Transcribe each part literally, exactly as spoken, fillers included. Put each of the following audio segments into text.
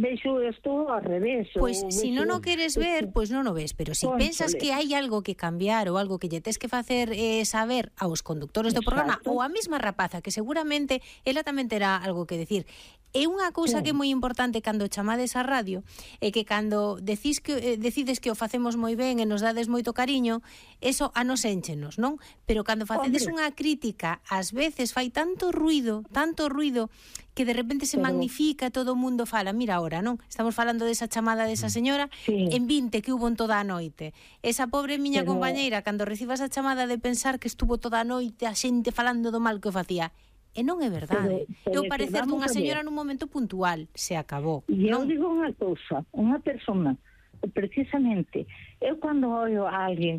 vexo isto ao revés. Pois, pues, se si non o queres ver, pois pues non o ves, pero se si pensas que hai algo que cambiar ou algo que lle tes que facer eh, saber aos conductores do programa ou a mesma rapaza, que seguramente ela tamén terá algo que decir. É unha cousa que é moi importante cando chamades á radio, é que cando decís que, eh, decides que o facemos moi ben e nos dades moito cariño, eso a nos énchenos, non? Pero cando facedes unha crítica, ás veces fai tanto ruido, tanto ruido, que de repente se Pero... magnifica, todo o mundo fala, mira ahora, non? Estamos falando desa chamada desa señora, sí. en vinte que hubo en toda a noite. Esa pobre miña Pero... compañeira, cando reciba esa chamada de pensar que estuvo toda a noite a xente falando do mal que o facía, e non é verdade. Eu parecer dunha señora nun momento puntual, se acabou. E eu digo unha cousa, unha persona, precisamente, eu cando ollo a alguén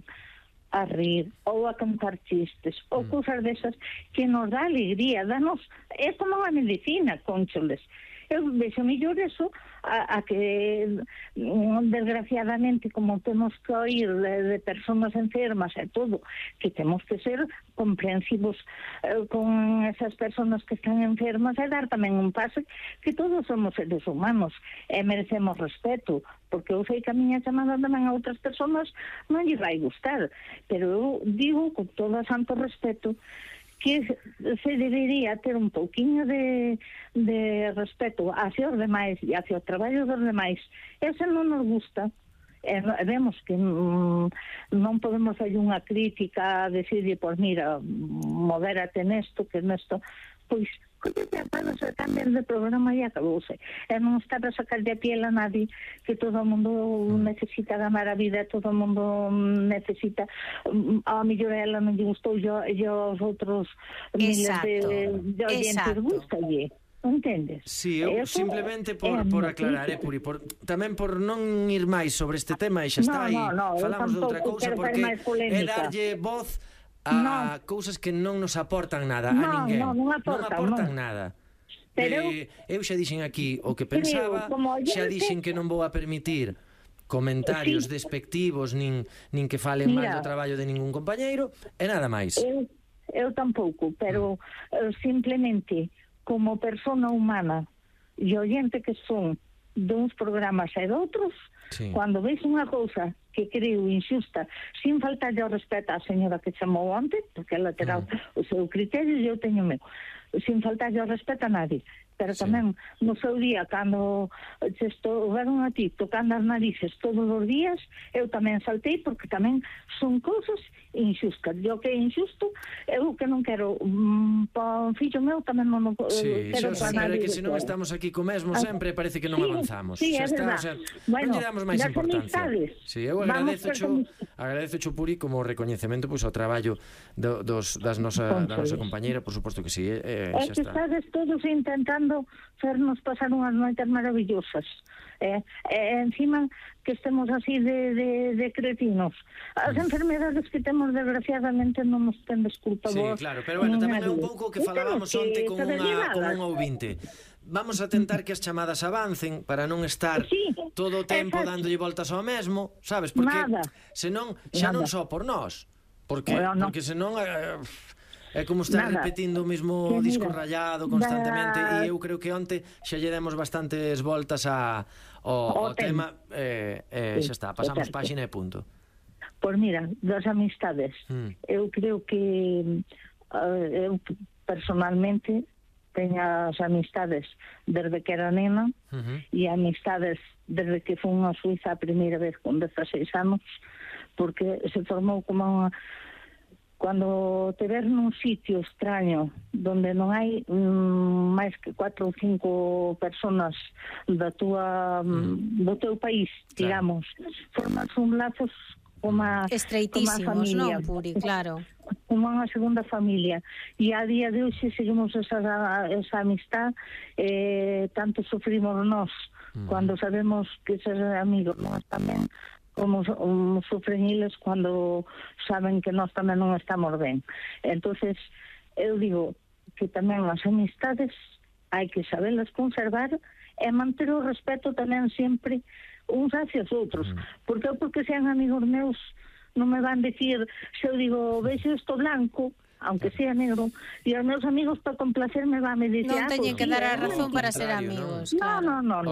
a rir, ou a cantar chistes, ou mm. cousas desas que nos dá alegría, danos, é como a medicina, concholes. Eu vexo mellor eso a, a que desgraciadamente, como temos que oír de, de persoas enfermas e todo, que temos que ser comprensivos eh, con esas persoas que están enfermas e dar tamén un paso que todos somos seres humanos e merecemos respeto, porque eu sei que a miña chamada tamén a outras persoas non lle vai gustar, pero eu digo con todo o santo respeto que se debería ter un pouquiño de, de respeto hacia os demais e hacia o traballo dos demais. Ese non nos gusta. E vemos que mm, non podemos fazer unha crítica a decirle, pois mira, modérate nesto, que nesto, pois collete a palos e cambian de programa e acabouse. E non estar a sacar de a piel a nadie, que todo o mundo necesita ganar a vida, todo o mundo necesita, a mellor a ela non lle gustou, yo, yo aos outros miles de, de oyentes gustalle. Entendes? Si, sí, eu Eso simplemente por, por aclarar, eh, Puri, por, tamén por non ir máis sobre este tema e xa está aí, no, no, falamos de outra cousa, porque é darlle voz a no. cousas que non nos aportan nada no, a ninguén. No, non aportan, non aportan no. nada. Pero eh, eu xa dixen aquí o que pensaba, xa dixen que non vou a permitir comentarios sí. despectivos nin, nin que falen Mira, mal do traballo de ningún compañeiro e nada máis. Eu, eu tampouco, pero mm. uh, simplemente como persona humana e oyente que son duns programas e de outros, sí. cando veis unha cousa que creo injusta, sin faltar ao respeto á señora que chamou antes, porque ela terá mm. o seu criterio e eu teño o meu, sin faltar ao respeto a nadie, pero sí. tamén no seu día, cando se estouveron a ti tocando as narices todos os días, eu tamén saltei, porque tamén son cousas injustas. Eu que é injusto, eu que non quero um, para un fillo meu tamén non sí, quero para nadie. Que se non estamos aquí co mesmo sempre, parece que non sí, avanzamos. Sí, é está, verdad. O sea, bueno, non lle damos máis importancia. Sí, eu agradezo cho, agradezo cho Puri como recoñecemento pois, ao traballo do, dos, das nosa, da nosa compañeira, por suposto que sí. Eh, é que estades todos intentando fernos pasar unhas noites maravillosas. Eh, eh, encima que estemos así de, de, de cretinos. As enfermedades que temos desgraciadamente non nos ten desculpa. Sí, claro, pero bueno, tamén é un pouco que falábamos onte con unha, con un ouvinte. Vamos a tentar que as chamadas avancen para non estar sí, todo o tempo exacto. dándolle voltas ao mesmo, sabes? Porque Nada. senón xa Nada. non só por nós, porque, bueno, no. porque senón eh, é como estar Nada. repetindo o mesmo que disco mira, rayado constantemente da... e eu creo que onte xa lle demos bastantes voltas a, ao, ao tema e eh, eh, sí, xa está, pasamos páxina e punto. Pois mira, das amistades hmm. eu creo que uh, eu personalmente teño as amistades desde que era nena uh-huh. e amistades desde que fui a Suiza a primeira vez con dezaseis anos, porque se formou como unha... Cando te ves nun sitio extraño donde non hai mm, máis que cuatro ou cinco personas da tua, mm. do teu país, digamos, claro. formas un lazos como a, estreitísimos, non, Puri, claro, como unha segunda familia, e a día de hoxe seguimos esa, esa amistad, eh, tanto sufrimos nós mm. cando sabemos que esos amigos nós tamén como um, sufren eles cando saben que nós tamén non estamos ben. Entonces eu digo que tamén as amistades hai que saberlas conservar e manter o respeto tamén sempre uns hacia os outros, mm. porque porque sean amigos meus non me van decir, se eu digo vexo isto blanco, aunque sea negro, e os meus amigos para complacerme van me dicir non teñen que dar a razón para ser amigos. No, no, no, no.